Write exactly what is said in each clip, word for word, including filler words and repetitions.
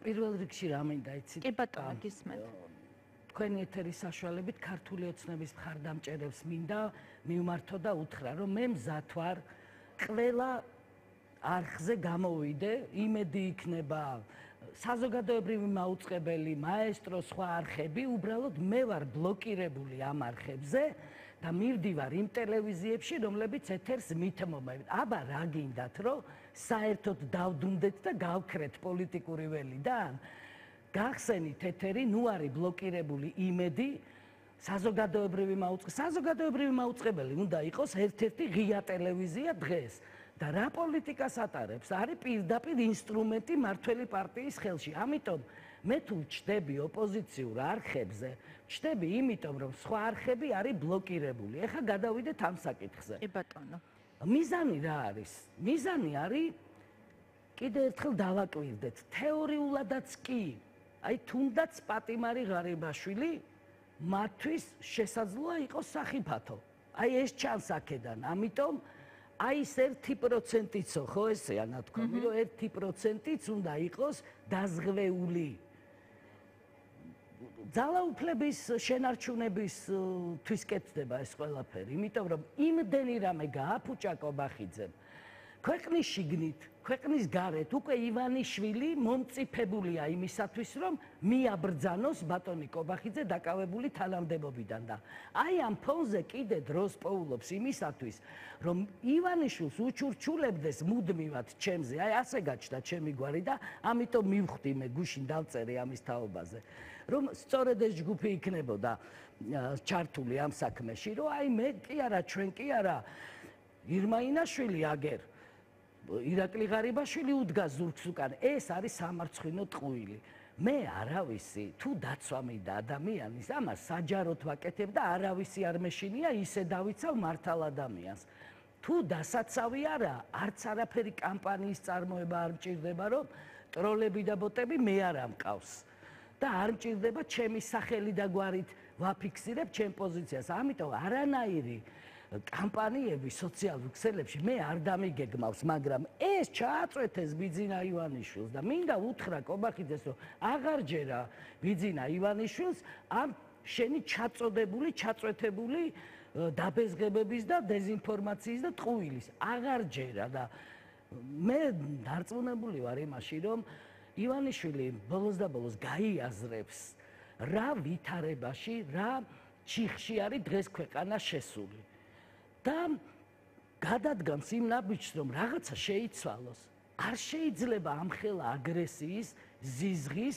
პირველ რიგში რა მინდა იცით? კი ბატონო, გისმენთ. თქვენი ეთერის საშუალებით ქართული ოცნების მხარდამჭერებს მინდა მივმართო და უთხრა, რომ მე მზად ვარ ყველა არხზე გამოვიდე, იმედი იქნება საზოგადოებრივი მაუწყებელი, მაესტრო, სხვა არხები, უბრალოდ მე ვარ ბლოკირებული ამ არხებზე და მივდივარ იმ ტელევიზიებში, რომლებიც ეთერს მითმობენ. აბა რა გინდათ, რომ საერთოდ დავდუნდეთ და გავქრეთ პოლიტიკური ველიდან? გახსენით ეთერი, ნუ არის ბლოკირებული იმედი, საზოგადოებრივი მაუწყებელი, საზოგადოებრივი მაუწყებელი უნდა იყოს ერთ-ერთი ღია ტელევიზია დღეს. და რა პოლიტიკას ატარებს? არის პირდაპირ ინსტრუმენტი მართველი პარტიის ხელში. ამიტომ მე თუ ჩდები ოპოზიციურ არხებზე, ჩდები იმიტომ, რომ სხვა არხები არის ბლოკირებული. ეხლა გადავიდეთ ამ საკითხზე. კი ბატონო. მიზანი რა არის? მიზანი არის კიდევ ერთხელ დავაკვირდეთ. თეორიულადაც კი, აი თუნდაც პატიმარი ღარიბაშვილი მათთვის შესაძლოა იყოს სახიფათო. აი ეს ჩანს აქედან. ამიტომ აი ეს ერთი პროცენტიცო, ხო ესეა ნათქვამი, რომ ერთი პროცენტიც უნდა იყოს დაზღვეული. ძალაუფლების შენარჩუნებისთვის კეთდება ეს ყველაფერი, იმიტომ რომ იმდენი რამე გააფუჭა კობახიძემ. ქვეყნის შიგნით, ქვეყნის გარეთ უკვე ივანიშვილი მომწიფებულია იმისათვის, რომ მიაბრძანოს ბატონი კობახიძე დაკავებული თანამდებობიდან და აი ამ ფონზე კიდე დროს პოულობს იმისათვის, რომ ივანიშვილს უჩურჩულებდეს მუდმივად ჩემზე, აი ასე გაჩნდა ჩემი გვარი და ამიტომ მივხვდი მე გუშინ დავწერე ამის თაობაზე, რომ სწორედ ეს ჯგუფი იქნებოდა ჩართული ამ საქმეში, რომ აი მე კი არა, ჩვენ კი არა, ირმა ინაშვილი აგერ ირაკლი ღარიბაშვილი უდგას ზურგს უკან. ეს არის სამარცხვინო ტყუილი. მე არავისი თუ დაცვა მინდა ადამიანის, ამას საჯაროდ ვაკეთებ და არავისი არ მეშინია ისე დავიცავ მართალ ადამიანს. თუ დასაცავი არა, არც არაფერი კამპანიის წარმოება არ მჭირდება, რომ ტროლები და ბოტები მე არ ამყავს. და არ მჭირდება ჩემი სახელი და გვარით ვაფიქსირებ ჩემ პოზიციას. ამიტომ არანაირი კამპანიები სოციალურ ქსელებში მე არ დამიგეგმავს, მაგრამ ეს ჩააწვეთეს ბიძინა ივანიშვილს და მინდა უთხრა კობახიძეს, რომ აღარ ჯერა ბიძინა ივანიშვილს ამ შენი ჩაწოდებული, ჩაწვეთებული დაბეზღებების და დეზინფორმაციის და ტყუილის. აღარ ჯერა და მე დარწმუნებული ვარ იმაში, რომ ივანიშვილი ბოლოს და ბოლოს გაიაზრებს რა ვითარებაში, რა ჩიხში არის დღეს ქვეყანა შესული. და გადადგამს იმ ნაბიჯს, რომ რაღაცა შეიცვალოს. არ შეიძლება ამხელა აგრესიის, ზიზღის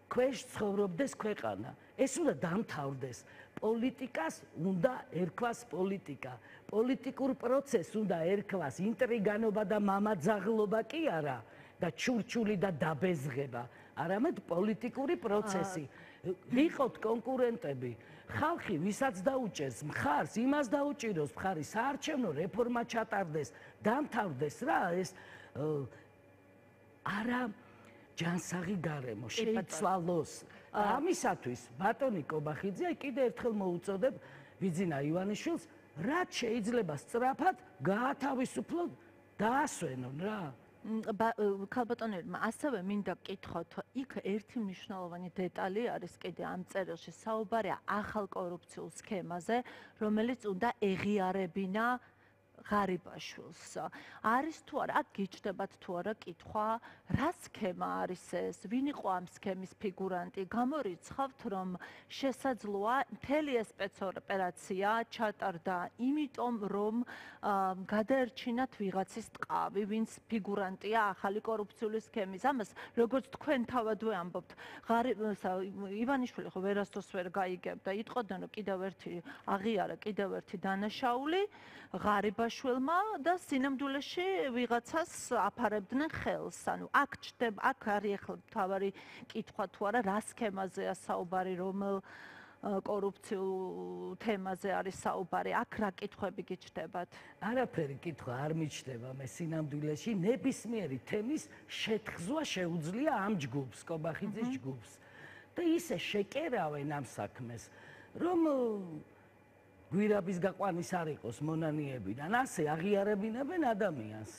ქვეშ ცხოვრობდეს ქვეყანა. ეს უნდა დამთავრდეს. პოლიტიკას უნდა ერქვას პოლიტიკა. პოლიტიკურ პროცესს უნდა ერქვას ინტრიგანობა და მამაძაღლობა კი არა და ჩურჩული და დაბეზღება, არამედ პოლიტიკური პროცესი. ვიყოთ კონკურენტები. ხალხი ვისაც დაუჭერს მხარს, იმას დაუჭიროს მხარი, საარჩევნო რეფორმა ჩატარდეს, დამთავრდეს რა ეს არა ჯანსაღი გარემო შეიცვალოს. ამისათვის ბატონი კობახიძე კიდე ერთხელ მოუწოდებ ბიძინა ივანიშვილს, რაც შეიძლება სწრაფად გაათავისუფლონ, დაასვენონ რა. ქალბატონებმა ასევე მინდა გკითხოთ, იქ ერთი მნიშვნელოვანი დეტალი არის კიდე ამ წერილში, საუბარია ახალ კორუფციულ სქემაზე, რომელიც უნდა ეღიარებინა ღარიბაშვილს. არის თუ არა, აქ გიჩნდებათ თუ არა კითხვა, რა სქემა არის ეს, ვინ იყო ამ სქემის ფიგურანტი? გამორიცხავთ, რომ შესაძლოა მთელი ეს სპეცოპერაცია ჩატარდა იმიტომ, რომ გადაერჩინათ ვიღაცის ტყავი, ვინც ფიგურანტია ახალი კორუფციული სქემის. ამას როგორც თქვენ თავადვე ამბობთ, ივანიშვილი ხო ვერასდროს ვერ გაიგებდა, იტყოდნენ, რომ კიდევ ერთი აღიარა, კიდევ ერთი დანაშაული ღარიბაშვილმა და სინამდვილეში ვიღაცას აფარებდნენ ხელს. ანუ აქ ჩდება, აქ არის ახლა მთავარი კითხვა თუ არა, რა სქემაზეა საუბარი, რომელ კორუფციულ თემაზე არის საუბარი, აქ რა კითხვები გიჩნდებათ? არაფერი კითხვა არ მიჩნდება მე სინამდვილეში, ნებისმიერი თემის შეთხზვა შეუძლია ამ ჯგუფს, კობახიძის ჯგუფს. და ისე შეკერავენ ამ საქმეს, რომ გვირაბის გაყვანის არ იყოს მონანიებიდან, ასე აღიარებინებენ ადამიანს,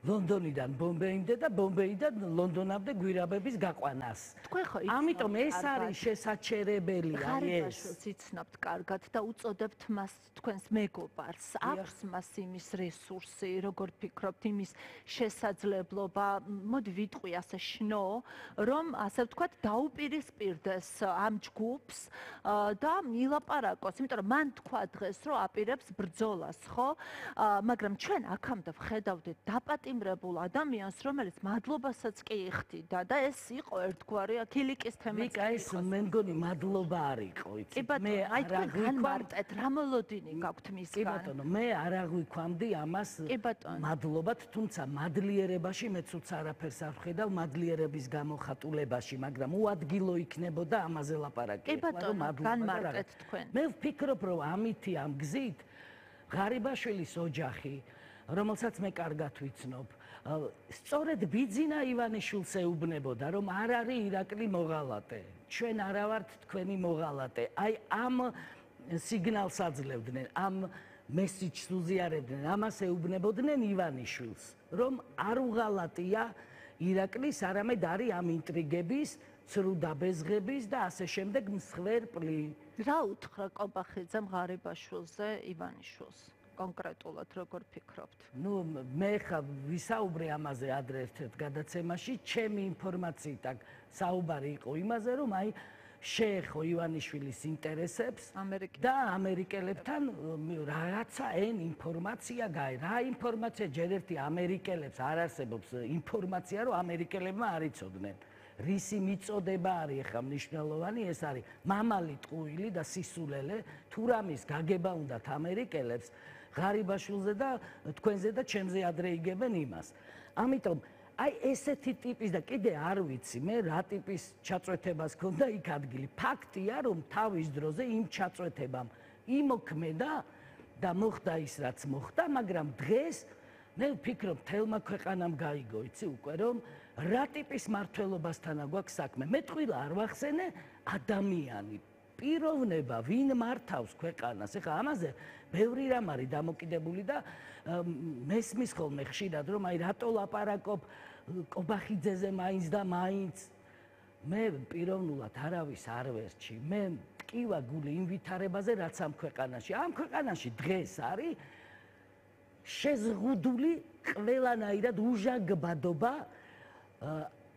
ლონდონიდან ბომბეიმდე და ბომბეიდან ლონდონამდე გვირაბების გაყვანას. თქვენ ხო ამიტომ ეს არის შესაჩერებელი, აი ეს. იცნობთ კარგად და უწოდებთ მას თქვენს მეგობარს. აქვს მას იმის რესურსი, როგორ ფიქრობთ, იმის შესაძლებლობა, მოდი ვიტყვი ასე შნო, რომ ასე ვთქვათ, დაუპირისპირდეს ამ ჯგუფს და მილაპარაკოს, იმიტომ რომ მან თქვა დღეს, რომ აპირებს ბრძოლას, ხო? მაგრამ ჩვენ აქამდე ვხედავდით დაპატიმრებულ ადამიანს, რომელიც მადლობასაც კი იხდიდა და ეს იყო ერთგვარი ქილიკის თემაც. ვიკა, ეს მე მგონი მადლობა არ იყო, იცი. მე აი თქვენ განმარტეთ, რა მოლოდინი გაქვთ მისგან. კი ბატონო, მე არ აღვიქვამდი ამას მადლობად, თუმცა მადლიერებაში მეც უც არაფერს არ ვხედავ მადლიერების გამოხატულებაში, მაგრამ უადგილო იქნებოდა ამაზე ლაპარაკი. კი ბატონო, განმარტეთ თქვენ. მე ვფიქრობ, რომ ამითი ამ გზით ღარიბაშვილის ოჯახი, რომელსაც მე კარგად ვიცნობ, სწორედ ბიძინა ივანიშვილს ეუბნებოდა, რომ არ არის ირაკლი მოღალატე. ჩვენ არა ვართ თქვენი მოღალატე. აი ამ სიგნალს აძლევდნენ, ამ მესიჯს უზიარებდნენ, ამას ეუბნებოდნენ ივანიშვილს, რომ არ უღალატია ირაკლის, არამედ არის ამ ინტრიგების, ცრუ დაბეზღების და ასე შემდეგ მსხვერპლი. რა უთხრა კობახიძემ ღარიბაშვილზე ივანიშვილს? კონკრეტულად როგორ ფიქრობთ? ნუ მე ხა ვისაუბრე ამაზე ადრე ერთ-ერთ გადაცემაში, ჩემი ინფორმაციით აქ საუბარი იყო იმაზე, რომ აი შეეხო ივანიშვილის ინტერესებს და ამერიკელებთან რაღაცა ენ ინფორმაცია გაი. რა ინფორმაცია? ჯერ ერთი ამერიკელებს არ არსებობს ინფორმაცია, რომ ამერიკელებმა არ იცოდნენ. რისი მიწოდება არის ახლა მნიშვნელოვანი, ეს არის მამალი ტყუილი და სისულელე, თუ რამის გაგება უნდათ ამერიკელებს ღარიბაშვილზე და თქვენზე და ჩემზე ადრე იგებენ იმას. ამიტომ აი ესეთი ტიპის და კიდე არ ვიცი მე რა ტიპის ჩაწვეთებას ქონდა იქ ადგილი. ფაქტია, რომ თავის დროზე იმ ჩაწვეთებამ იმოქმედა და მოხდა ის რაც მოხდა, მაგრამ დღეს მე ვფიქრობ თელმა ქვეყანამ გაიგო, იცი უკვე რომ რა ტიპის მართლობასთან აქვს საქმე. მე ტყუილა არ ვახსენე ადამიანი, პიროვნება, ვინ მართავს ქვეყანას. ეხლა ამაზე ბევრი რამ არის დამოკიდებული და მესმის ხოლმე ხშირად რომ აი რატო ლაპარაკობ კობახიძეზე მაინც და მაინც. მე პიროვნულად არავის არ ვერჩი. მე ტკივა გული იმ ვითარებაზე რაც ამ ქვეყანაში. ამ ქვეყანაში დღეს არის შეზღუდული ყველანაირად უჟანგბადობა,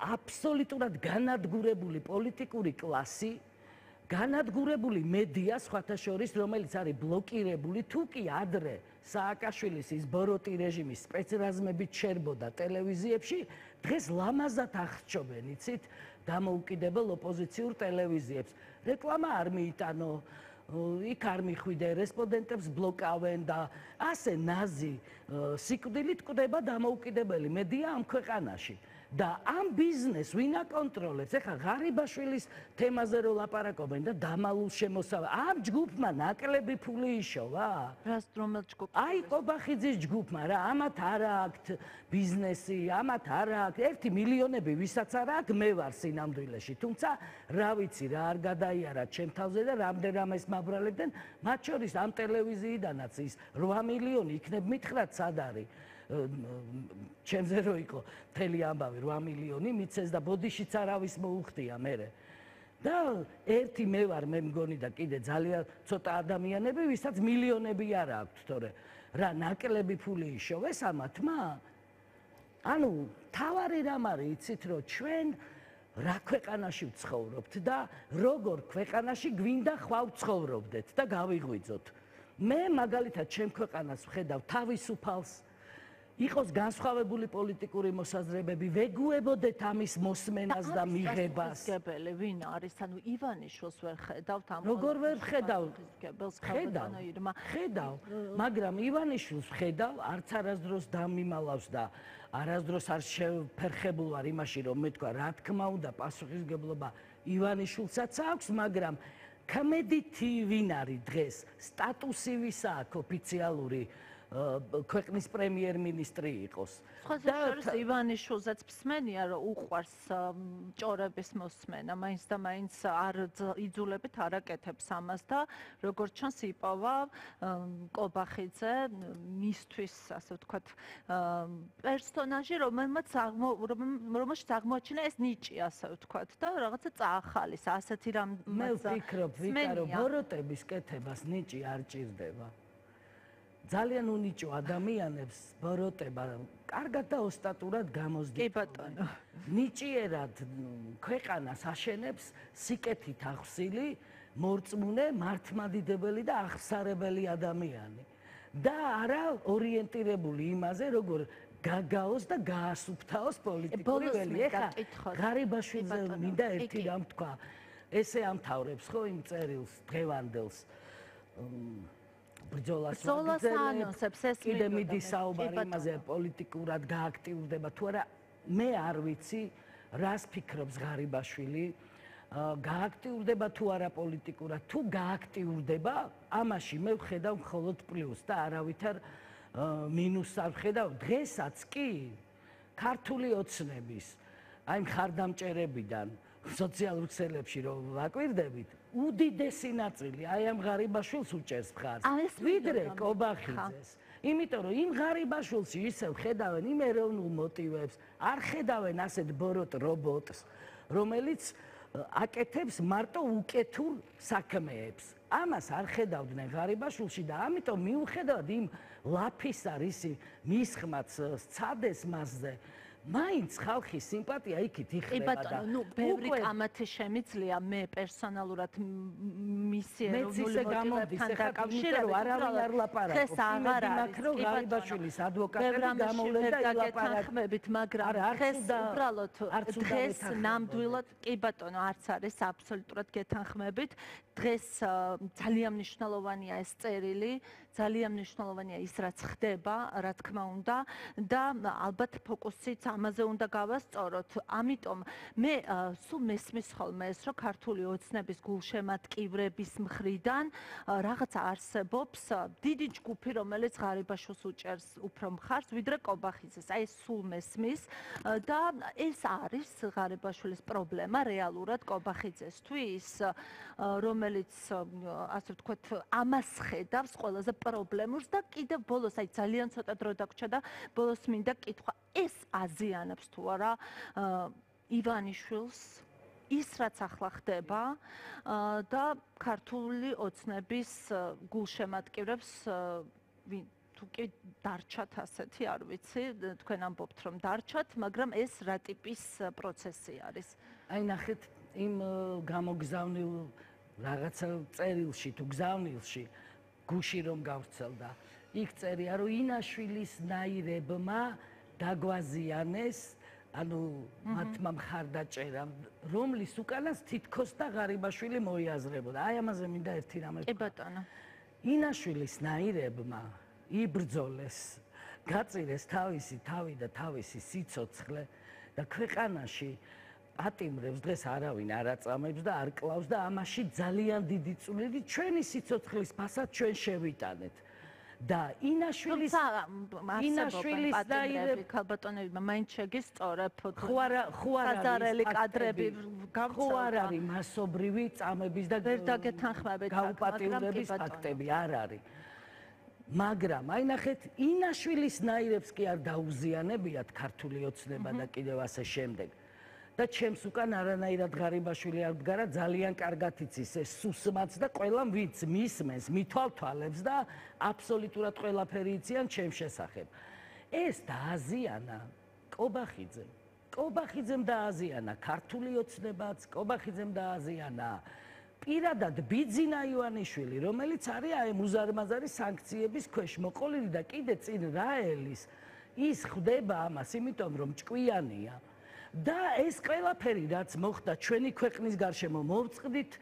აბსოლუტურად განადგურებული პოლიტიკური კლასი, განადგურებული მედია, სხვათა შორის, რომელიც არის ბლოკირებული, თუ კი ადრე სააკაშვილის ის ბოროტი რეჟიმის სპეცრაზმებით შერბოდა ტელევიზიებში, დღეს ლამაზად აღრჩობენ, იცით, დამოუკიდებელ ოპოზიციურ ტელევიზიებს. რეკლამა არ მიიტანო, იქ არ მიხვიდე, რესპონდენტებს ბლოკავენ და ასე ნაზი სიკვდილით კვდება დამოუკიდებელი მედია ამ ქვეყანაში. და ამ ბიზნეს ვინ აკონტროლებს? ეხლა ღარიბაშვილის თემაზე რო ლაპარაკობენ და დამალულ შემოსავალ. ამ ჯგუფმა ნაკლები ფული იშოვა? რას რომელ ჯგუფს? აი კობახიძის ჯგუფმა რა, ამათ არ აქვთ ბიზნესი, ამათ არ აქვთ ერთი მილიონები, ვისაც არ აქვს, მე ვარ სინამდვილეში. თუმცა რა ვიცი რა არ გადაიარა ჩემ თავზე და რამდენ რამეს მაბრალებდნენ, მათ შორის ამ ტელევიზიიდანაც ის რვა მილიონი იქნებ მითხრათ სად არის. ჩემზე რო იყო მთელი ამბავი რვა მილიონი მიცეს და ბოდიშიც არავის მოუხდია მერე. და ერთი მე ვარ, მე მგონი და კიდე ძალიან ცოტა ადამიანები, ვისაც მილიონები არ აქვთ, თორე რა ნაკლები ფული იშოვეს ამათმა? ანუ თავარი რამ არის, იცით, რომ ჩვენ რა ქვეყანაში ვცხოვრობთ და როგორ ქვეყანაში გვინდა ხვალ ვცხოვრობდეთ და გავიღვიძოთ. მე მაგალითად ჩემ ქვეყანას ვხედავ თავისუფალს, იყოს განსხვავებული პოლიტიკური მოსაზრებები, ვეგუებოდეთ ამის მოსმენას და მიღებას. გებელი ვინ არის? ანუ ივანიშვილს ვერ ხედავთ ამ როგორ ვერ ხედავ? ხედავ, ხედავ, მაგრამ ივანიშვილს ხედავ, არც არასდროს დამიმალავს და არასდროს არ შეფერხებულ ვარ იმაში, რომ მე თქვა, რა თქმა უნდა, პასუხისმგებლობა ივანიშვილსაც აქვს, მაგრამ კმედითი ვინ არის დღეს? სტატუსი ვისა აქვს ოფიციალური ქვეყნის პრემიერ-მინისტრი იყოს. და შორის ივანიშვილზეც მსმენია, რომ უყვარს ჭორების მოსმენა, მაინც და მაინც არ იძულებით არ აკეთებს ამას და როგორც ჩანს იპოვა კობახიძე მისთვის, ასე ვთქვათ, პერსონაჟი, რომელმაც რომელშიც აღმოაჩინა ეს ნიჭი, ასე ვთქვათ, და რაღაცა წაახალის, ასეთი რამ მე ვფიქრობ, ვიტა, რომ ბოროტების კეთებას ნიჭი არ ჭირდება. ძალიან უნიჭო ადამიანებს ბოროტება კარგად და ოსტატურად გამოსდით. კი ბატონო. ნიჭიერად ქვეყანას აშენებს სიკეთით ახსილი, მორწმუნე, მართლმადიდებელი და აღსარებელი ადამიანი. და არა ორიენტირებული იმაზე, როგორ გაგაოს და გაასუფთავოს პოლიტიკური ველი. ეხლა ღარიბაშვილზე მინდა ერთი რამ თქვა. ესე ამთავრებს ხო იმ წერილს დღევანდელს. ბრძოლას ანონსებს ეს კიდე მიდის საუბარი იმაზე პოლიტიკურად გააქტიურდება თუ არა მე არ ვიცი რას ფიქრობს ღარიბაშვილი გააქტიურდება თუ არა პოლიტიკურად თუ გააქტიურდება ამაში მე ვხედავ მხოლოდ პლუს და არავითარ მინუსს არ ვხედავ დღესაც კი ქართული ოცნების აი მხარდამჭერებიდან სოციალურ ქსელებში რომ ვაკვირდებით უდიდესი ნაწილი აი ამ ღარიბაშვილს უჭერს მხარს ვიდრე კობახიძეს იმიტომ რომ იმ ღარიბაშვილში ისევ ხედავენ იმ ეროვნულ მოტივებს არ ხედავენ ასეთ ბოროტ რობოტს რომელიც აკეთებს მარტო უკეთურ საქმეებს ამას არ ხედავდნენ ღარიბაშვილში და ამიტომ მიუხედავად იმ ლაფისა რისი მისხმაც სცადეს მასზე მაინც ხალხის სიმპათია იქით იხდება და ბატონო, ნუ ბევრი კამათი შემიძლია მე პერსონალურად მისი ეროვნული მოტივებთან დაკავშირებით არავინ არ ლაპარაკობს. ხეს აღარ არის რომ ღარიბაშვილის ადვოკატები გამოვლენ და ილაპარაკეთ, მაგრამ ხეს უბრალოდ დღეს ნამდვილად კი ბატონო არც არის აბსოლუტურად გეთანხმებით. დღეს ძალიან მნიშვნელოვანია ეს წერილი, ძალიან მნიშვნელოვანია ის რაც ხდება, რა თქმა უნდა და ალბათ ფოკუსიც ამაზე უნდა გავასწოროთ. ამიტომ მე სულ მესმის ხოლმე ეს, რომ ქართული ოცნების გულშემატკივრების მხრიდან რაღაცა არსებობს დიდი ჯგუფი, რომელიც ღარიბაშვილს უჭერს უფრო მხარს, ვიდრე კობახიძეს. აი ეს სულ მესმის და ეს არის ღარიბაშვილის პრობლემა რეალურად კობახიძესთვის, რომელიც ასე ვთქვათ, ამას ხედავს ყველაზე პრობლემურს და კიდევ ბოლოს აი ძალიან ცოტა დრო დაგვრჩა და ბოლოს მინდა კითხვა ეს აზიანებს თუ არა ივანიშვილს ის რაც ახლა ხდება და ქართული ოცნების გულშემატკივრებს თუ კი დარჩათ ასეთი არ ვიცი თქვენ ამბობთ რომ დარჩათ მაგრამ ეს რა ტიპის პროცესი არის აი ნახეთ იმ გამოგზავნილ რაღაცა წერილში თუ გზავნილში გუში რომ გავრცელდა იქ წერია რომ ინაშვილის ნაირებმა დაგვაზიანეს ანუ მათმა მხარდაჭერა რომლის უკანას თითქოს და ღარიბაშვილი მოიაზრებოდა აი ამაზე მინდა ერთი რამე კი ბატონო ინაშვილის ნაირებმა იბრძოლეს გაწირეს თავისი თავი და თავისი სიცოცხლე და ქვეყანაში ატიმრებს დღეს არავინ არ აწამებს და არ კლავს და ამაში ძალიან დიდი წვლილი ჩვენი სიცოცხლის ფასად ჩვენ შევიტანეთ და ინაშვილის ინაშვილის ნაირები ქალბატონებმა მაინც შეგისწორებ ხო არა ხო არა კადრები ხო არ არის მასობრივი წამების და ვერ დაგეთანხმებით გაუპატიურების ფაქტები არ არის მაგრამ აი ნახეთ ინაშვილის ნაირებს კი არ დაუზიანებიათ ქართული ოცნება და კიდევ ასე შემდეგ და ჩემს უკან არანაირად ღარიბაშვილი არ მდგარა ძალიან კარგად იცის ეს სუსმაც და ყველამ ვინც მისმენს მithვალთვალებს და აბსოლუტურად ყველაფერი იციან ჩემს შესახებ ეს დააზიანა კობახიძემ კობახიძემ დააზიანა ქართული ოცნებაც კობახიძემ დააზიანა პირადად ბიძინა ივანიშვილი რომელიც არის აი მუზარმაზარი სანქციების ქვეშ მოყოლილი და კიდე წინ რაელის ის ხდება ამას იმიტომ რომ ჭკვიანია და ეს ყველაფერი რაც მოხდა ჩვენი ქვეყნის გარშემო მოვწყდით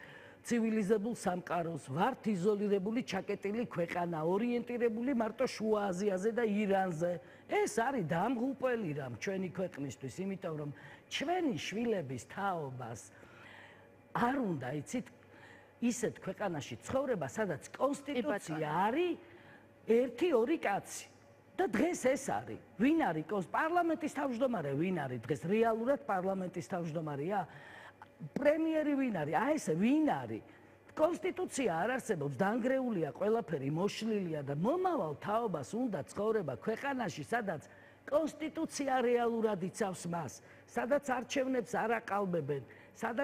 ცივილიზებულ სამყაროს ვართ იზოლირებული ჩაკეტილი ქვეყანა ორიენტირებული მარტო შუა აზიაზე და ირანზე ეს არის დამღუპელი რამ ჩვენი ქვეყნისთვის იმიტომ რომ ჩვენი შვილების თაობას არ უნდა იცით ისეთ ქვეყანაში ცხოვრება სადაც კონსტიტუცია არის ერთი ორი კაცი. და დღეს ეს არის. ვინ არის პარლამენტის თავმჯდომარე? ვინ არის დღეს რეალურად პარლამენტის თავმჯდომარეა? პრემიერი ვინ არის? აი ეს ვინ არის? კონსტიტუცია არ არსებობს, დანგრეულია ყველაფერი, მოშლილია და მომავალ თაობას უნდა ცხოვრება ქვეყანაში, სადაც კონსტიტუცია რეალურად იცავს მას, სადაც არჩევნებს არ აყალბებენ, სადაც